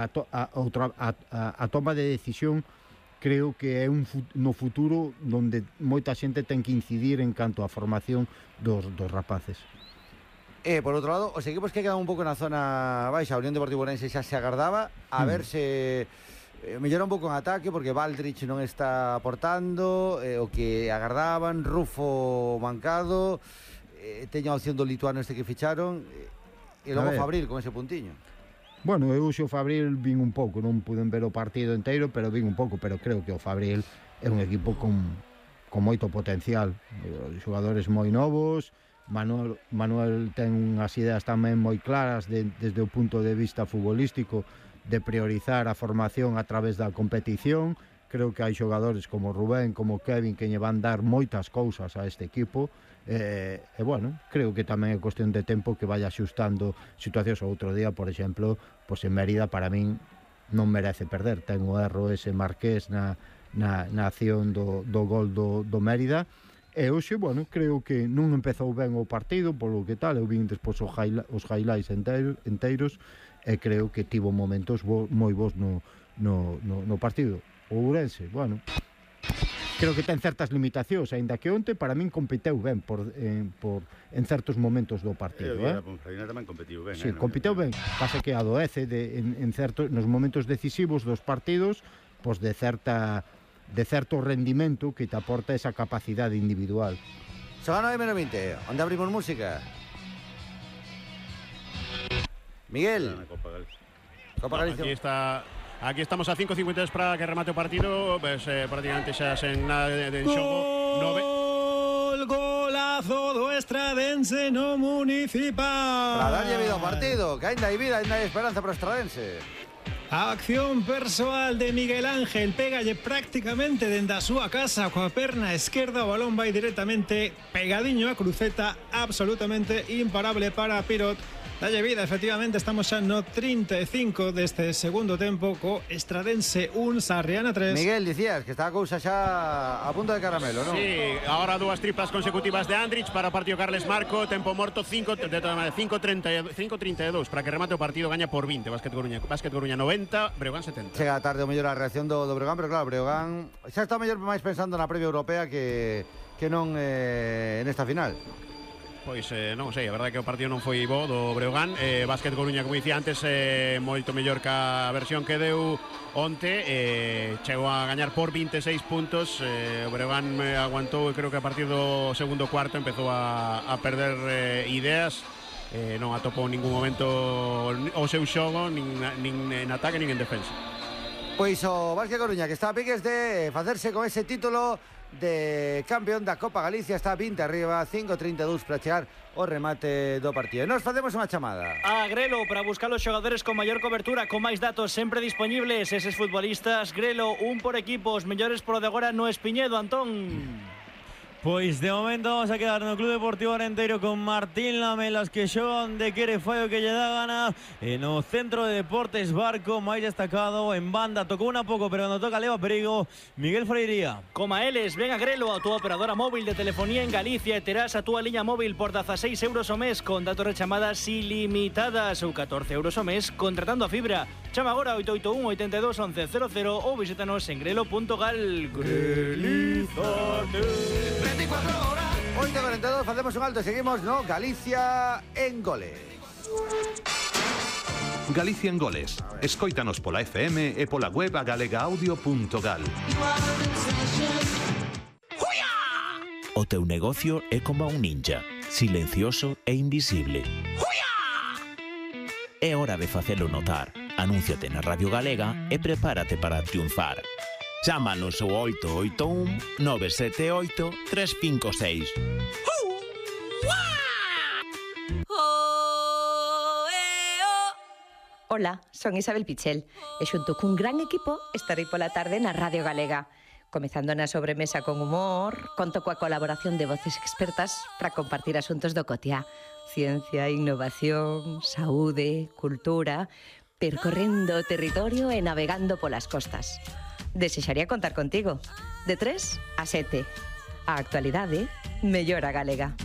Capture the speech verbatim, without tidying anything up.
a, to, a, outra, a, a, a toma de decisión creo que é un no futuro onde moita xente ten que incidir en canto á formación dos, dos rapaces. E, por outro lado, os equipos que quedan un pouco na zona baixa, a Unión Deportiva Ourense xa se agardaba a mm. ver se eh, mellora un pouco en ataque, porque Baldrich non está aportando, eh, o que agardaban, Rufo mancado, eh, teña a opción do lituano este que ficharon, eh, e logo Fabril con ese puntiño. Bueno, eu xo Fabril vin un pouco, non puden ver o partido inteiro, pero vin un pouco, pero creo que o Fabril é un equipo con, con moito potencial, xogadores moi novos. Manuel, Manuel ten unhas ideas tamén moi claras de, desde o punto de vista futbolístico de priorizar a formación a través da competición. Creo que hai xogadores como Rubén, como Kevin, que lle van dar moitas cousas a este equipo. E, e bueno, creo que tamén é cuestión de tempo que vaya axustando situacións. Outro día, por exemplo, pois en Mérida para min non merece perder, ten o erro ese Marqués na, na, na acción do, do gol do, do Mérida. E hoxe, bueno, creo que non empezou ben o partido, polo que tal, eu vin despois os, highlight, os highlights enteiros, enteiros e creo que tivo momentos bo, moi bons no, no, no, no partido. O Ourense, bueno, creo que ten certas limitacións, aínda que onte para min competeu ben por, eh, por, en certos momentos do partido. Eh, eh? A Ponferradina tamén competiu ben. Sí, eh, competeu ben, pasa que adoece de, en, en certo, nos momentos decisivos dos partidos, pois de certa de certo rendimento que te aporta esa capacidade individual. Son a nove menos vinte, onde abrimos música? Miguel. Copa Galicia. Copa No, Galicia. aquí está... Aquí estamos a cinco cincuenta y tres para que remate o partido, pues, eh, prácticamente xa sen nada de, de xogo. Nove... Gol, golazo do Estradense no Municipal. Para darlle vida ao partido, que ainda hai vida, ainda hai esperanza para o Estradense. A acción persoal de Miguel Ángel, pégalle prácticamente dende a súa casa coa perna esquerda, o balón vai directamente pegadiño a cruceta, absolutamente imparable para Pirot. Dalle vida, efectivamente, estamos xa no trinta e cinco deste segundo tempo co Estradense un, Sarriana tres. Miguel, dicías que está a cousa xa a punto de caramelo, non? Sí, ahora dúas triplas consecutivas de Andrich para o partido Carles Marco, tempo morto cinco treinta e dous para que remate o partido, gaña por vinte Básquet Coruña, Básquet Coruña noventa, Breogán setenta. Chega tarde o mellor a reacción do, do Breogán, pero claro, Breogán xa está mellor máis pensando na previa europea que, que non eh, nesta final. Pois eh, non sei, a verdade é que o partido non foi bo do Breogán. eh, Básquet Coruña, como dicía antes, eh, moito mellor que a versión que deu onte, eh, chegou a gañar por vinte e seis puntos. eh, O Breogán eh, aguantou, e creo que a partir do segundo cuarto empezou a, a perder eh, ideas. eh, Non atopou en ningún momento o seu xogo, nin, nin en ataque nin en defensa. Pois o Básquet Coruña, que está a piques de facerse con ese título de campeón da Copa Galicia, está vinte arriba, cinco treinta e dous para chegar o remate do partido. E nos facemos unha chamada a Grelo para buscar os xogadores con maior cobertura, con máis datos sempre disponibles. Eses futbolistas, Grelo, un por equipo, os mellores por de agora no Espiñedo, Antón. Pois de momento vamos a quedar no Club Deportivo Arenteiro con Martín Lamelas, que xoga onde quere, fai o que lle dá gana. E no Centro de Deportes Barco, máis destacado en banda, tocou unha pouco, pero cando toca leva perigo, Miguel Freiría. Coma eles, ven a Grelo, a túa operadora móvil de telefonía en Galicia, e terás a túa liña móvil por dezaseis euros o mes con datos e chamadas ilimitadas, ou catorce euros o mes contratando a fibra. Chama agora oito oito un, oito dos, once cero cero ou visítanos en grelo punto gal. Grelizate. veinticuatro horas, oito cuarenta e dous, facemos un alto e seguimos no Galicia en Goles. Galicia en Goles. Escóitanos pola F M e pola web a galegaaudio punto gal. O teu negocio é como un ninja, silencioso e invisible. É hora de facelo notar. Anúnciate na Radio Galega e prepárate para triunfar. Chámanos ao oito oito un, nove sete oito, tres cinco seis. Hola, son Isabel Pichel e xunto cun gran equipo estarei pola tarde na Radio Galega. Comezando na sobremesa con humor, conto coa colaboración de voces expertas para compartir asuntos do cotiá. Ciencia, innovación, saúde, cultura, percorrendo o territorio e navegando polas costas. Desexaría contar contigo. De tres a sete. A actualidade mellora galega.